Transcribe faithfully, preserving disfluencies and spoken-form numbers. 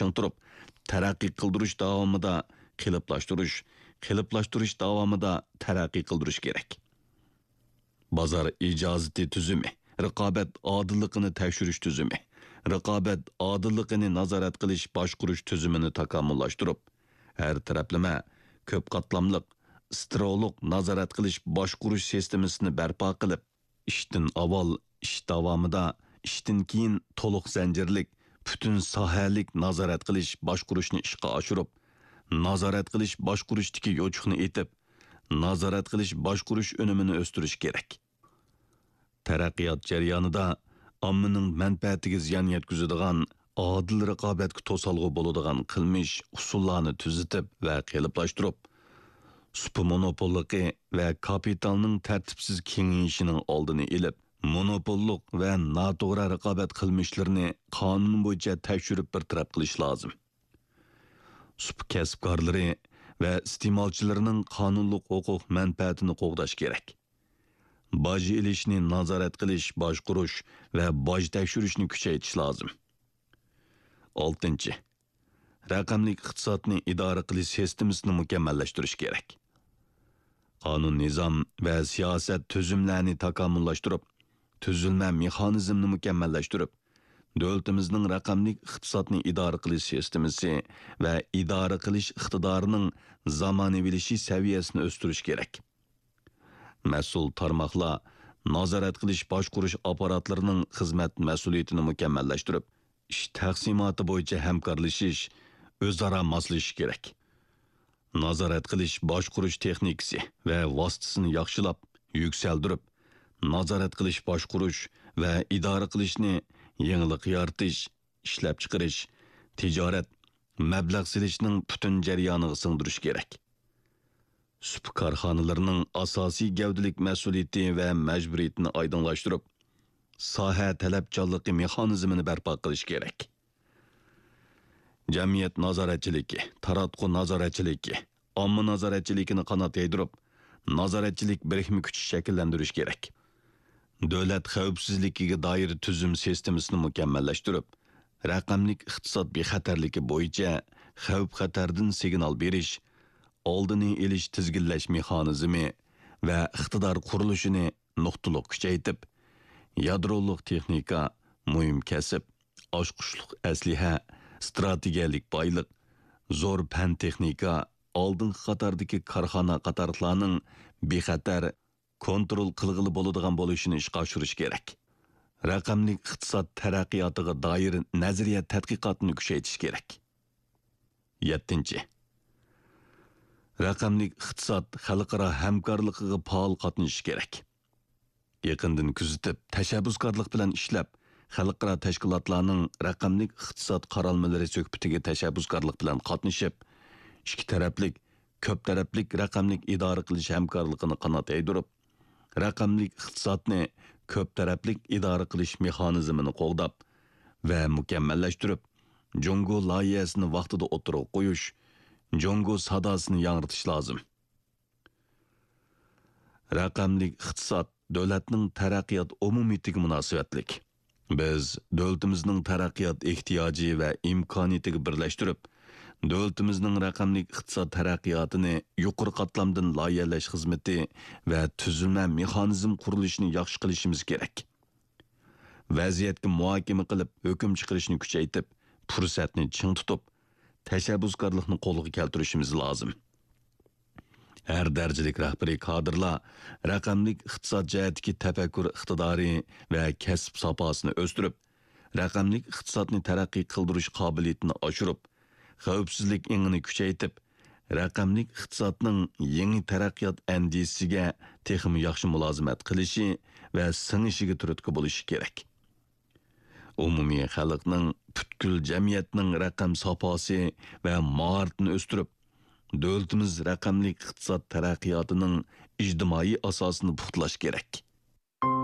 چىڭ تۇرۇپ، تەرەققىي قىلدۇرۇش داۋامىدا قېلىپلاشتۇرۇش، قېلىپلاشتۇرۇش داۋامىدا تەرەققىي قىلدۇرۇش كېرەك. بازار ئىجازىتى تۈزۈمى، رىقابەت ئادىللىقىنى تەكشۈرۈش تۈزۈمى، رىقابەت ئادىللىقىنى نازارەت قىلىش باشقۇرۇش تۈزۈمىنى تاكامۇللاشتۇرۇپ، ھەر تەرەپلىمە، كۆپ قاتلاملىق، سترولۇق نازارەت قىلىش باشقۇرۇش سىستېمىسىنى بەرپا قىلىپ، ئىشتىن ئاۋۋال، ئىش داۋامىدا، ئىشتىن كېيىن تولۇق زەنجىرلىك، پۈتۈن ساھەلىك نازارەت قىلىش باشقۇرۇشنى ئىشقا ئاشۇرۇپ، نازارەت قىلىش باشقۇرۇشتىكى يوچۇقنى ئېتىپ، نازارەت قىلىش باشقۇرۇش ئۈنۈمىنى ئۆستۈرۈش كېرەك. تەرەققىيات جەريانىدا ئاممىنىڭ مەنپەئەتىگە زىيان يەتكۈزىدىغان، ئادىل رىقابەتكە توسالغۇ بولىدىغان قىلمىش ئۇسۇللارنى تۈزىتىپ ۋە قېلىپلاشتۇرۇپ، سۇپا مونوپوللۇقى ۋە كاپىتالنىڭ تەرتىپسىز كېڭىيىشىنىڭ ئالدىنى ئېلىپ، مونوپوللۇق ۋە ناتوغرا رىقابەت قىلمىشلىرىنى قانۇن بويىچە تەكشۈرۈپ بىر تەرەپ قىلىش لازىم. سۇپا كەسىپكارلىرى ۋە ئىستېمالچىلىرىنىڭ قانۇنلۇق ھوقۇق مەنپەئەتىنى قوغداش كېرەك. باج ئېلىشنى نازارەت قىلىش، باشقۇرۇش ۋە باج تەكشۈرۈشنى كۈچەيتىش لازىم. ئالتىنچى، رەقەملىك ئىقتىسادنى ئىدارە قىلىش سىستېمىسىنى مۇكەممەللەشتۈرۈش كېرەك. قانۇن، نىزام ۋە سىياسەت تۈزۈملەرنى تاكامۇللاشتۇرۇپ، تۈزۈلمە مېخانىزمنى مۇكەممەللەشتۈرۈپ، دۆلىتىمىزنىڭ رەقەملىك ئىقتىسادنى ئىدارە قىلىش سىستېمىسى ۋە ئىدارە قىلىش ئىقتىدارىنىڭ زامانىۋىلىشىش سەۋىيەسىنى ئۆستۈرۈش كېرەك. مەسئۇل تارماقلار نازارەت قىلىش باشقۇرۇش ئاپپاراتلىرىنىڭ خىزمەت مەسئۇلىيىتىنى مۇكەممەللەشتۈرۈپ، ئىش تەقسىماتى بويىچە ھەمكارلىشىش، ئۆزئارا ماسلىشىش كېرەك. نازارەت قىلىش باشقۇرۇش تېخنىكىسى ۋە ۋاسىتىسىنى ياخشىلاپ، يۈكسەلدۈرۈپ، نازارەت قىلىش باشقۇرۇش ۋە ئىدارە قىلىشنى يېڭىلىق يارىتىش، ئىشلەپچىقىرىش، تىجارەت، مەبلەغ سېلىشنىڭ پۈتۈن جەريانىغا سىڭدۈرۈش كېرەك. سۇپا كارخانىلىرىنىڭ ئاساسىي گەۋدىلىك مەسئۇلىيىتى ۋە مەجبۇرىيىتىنى ئايدىڭلاشتۇرۇپ، ساھە تەلەپچانلىقى مېخانىزمىنى بەرپا قىلىش كېرەك. جەمئىيەت نازارەتچىلىكى، تاراتقۇ نازارەتچىلىكى، ئامما نازارەتچىلىكىنى قانات يايدۇرۇپ، نازارەتچىلىك بىرىكمە كۈچى شەكىللەندۈرۈش كېرەك. دۆلەت خەۋپسىزلىكىگە دائىر تۈزۈم سىستېمىسىنى مۇكەممەللەشتۈرۈپ، رەقەملىك ئىقتىساد بىخەتەرلىكى بويىچە خەۋپ-خەتەردىن سىگنال بېرىش، ئالدىنى ئېلىش، تىزگىنلەش مېخانىزمى ۋە ئىقتىدار قۇرۇلۇشىنى نۇقتىلىق كۈچەيتىپ، يادرولۇق تېخنىكا، مۇھىم كەسىپ، ئاچقۇچلۇق ئەسلىھە، ئىستراتېگىيەلىك بايلىق، زور پەن-تېخنىكا، ئالدىنقى قاتاردىكى كارخانا قاتارلىقلارنىڭ بىخەتەر، كونترول قىلغىلى بولىدىغان بولۇشىنى ئىشقا ئاشۇرۇش كېرەك. رەقەملىك ئىقتىساد تەرەققىياتىغا دائىر نەزەرىيە تەتقىقاتنى كۈچەيتىش كېرەك. يەتتىنچى، رەقەملىك ئىقتىساد خەلقئارا ھەمكارلىقىغا پائال قاتنىشىش كېرەك. يېقىندىن كۆزىتىپ، تەشەببۇسكارلىق بىلەن ئىشلەپ، خەلقئارا تەشكىلاتلارنىڭ رەقەملىك ئىقتىساد قارالمىلىرى سۆھبىتىگە تەشەببۇسكارلىق بىلەن قاتنىشىپ، ئىككى تەرەپلىك، كۆپ تەرەپلىك رەقەملىك ئىدارە قىلىش ھەمكارلىقىنى قانات يايدۇرۇپ، رەقەملىك ئىقتىسادنى كۆپ تەرەپلىك ئىدارە قىلىش مېخانىزمىنى قوغداپ ۋە مۇكەممەللەشتۈرۈپ، جۇڭگو لايىھەسىنى ۋاقتىدا ئوتتۇرىغا قويۇش، جۇڭگو ساداسىنى ياڭرىتىش لازىم. رەقەملىك ئىقتىساد دۆلەتنىڭ تەرەققىيات ئومۇمىيىتىگە مۇناسىۋەتلىك. بىز دۆلىتىمىزنىڭ تەرەققىيات ئېھتىياجى ۋە ئىمكانىيىتىگە بىرلەشتۈرۈپ، دۆلىتىمىزنىڭ رەقەملىك ئىقتىساد تەرەققىياتىنى يۇقىرى قاتلامدىن لايىھەلەش خىزمىتى ۋە تۈزۈلمە مېخانىزم قۇرۇلۇشىنى ياخشى قىلىشىمىز كېرەك. ۋەزىيەتكە مۇھاكىمە قىلىپ، ھۆكۈم چىقىرىشنى كۈچەيتىپ، پۇرسەتنى چىڭ تۇتۇپ، تەشەببۇسكارلىقنى قولغا كەلتۈرۈشىمىز لازىم. ھەر دەرىجىلىك رەھبىرىي كادىرلار رەقەملىك ئىقتىساد جەھەتتىكى تەپەككۇر ئىقتىدارى ۋە كەسىپ ساپاسىنى ئۆستۈرۈپ، رەقەملىك ئىقتىسادنى تەرەققىي قىلدۇرۇش قابىلىيىتىنى ئاشۇرۇپ، خەۋپسىزلىك ئېڭىنى كۈچەيتىپ، رەقەملىك ئىقتىسادنىڭ يېڭى تەرەققىيات ئەندىزىسىگە تېخىمۇ ياخشى مۇلازىمەت قىلىشى ۋە سىڭىشىگە تۈرتكە بولۇشى كېرەك. ئومۇمىي خەلقنىڭ، پۈتكۈل جەمئىيەتنىڭ رەقەم ساپاسى ۋە ماھارىتىنى ئۆستۈرۈپ، دۆلىتىمىز رەقەملىك ئىقتىساد تەرەققىياتىنىڭ ئىجتىمائىي ئاساسىنى پۇختىلاش كېرەك.